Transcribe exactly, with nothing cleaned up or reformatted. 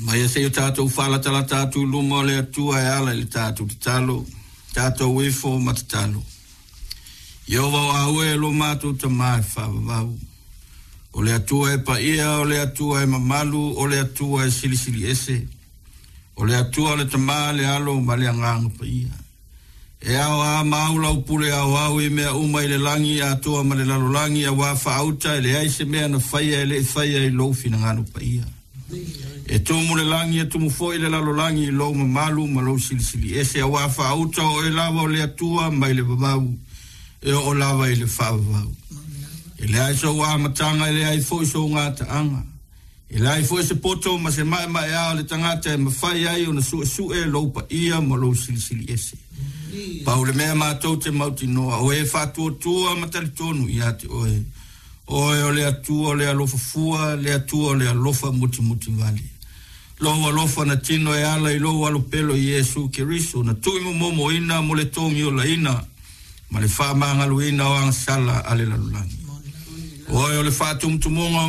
Mai se i o tatou faalatalata atu i luma o le Atua e ala i le tatou tatalo, tatou ifo ma tatalo. Ieova o aue lo matou Tamā e faavavau. O le Atua e paia, o le Atua e mamalu, o le Atua e silisili ese. O le Atua o le Tamā, le Alo ma le Agaga Paia. E ao a mau lau pule aoao i mea uma i le lagi atoa ma le lalolagi auā faauta e leai se mea na faia e le i faia i lou finagalo paia. E tumu le lagi e tumu foi le lalolagi i lou mamalu ma lou silisili ese auā faauta o oe lava o le Atua mai le vavau e oo lava i le faavavau. E leai sou amataga e leai foi sou gataaga. E leai foi se poto ma se maemaea o le tagata e mafai ai ona suesue lou paia ma lou silisili ese. Pau le mea matou te mautinoa o e faatuatua ma talitonu ia te oe. Oe o le Atua o le alofa fua, le Atua o le alofa mutimutivale. Lou alofa na tino e ala i lou alopelo Iesu Keriso na tuuimomomoina mo le togiolaina ma le faamagaloina o agasala a le lalolagi. Oe o le faatumutumuga o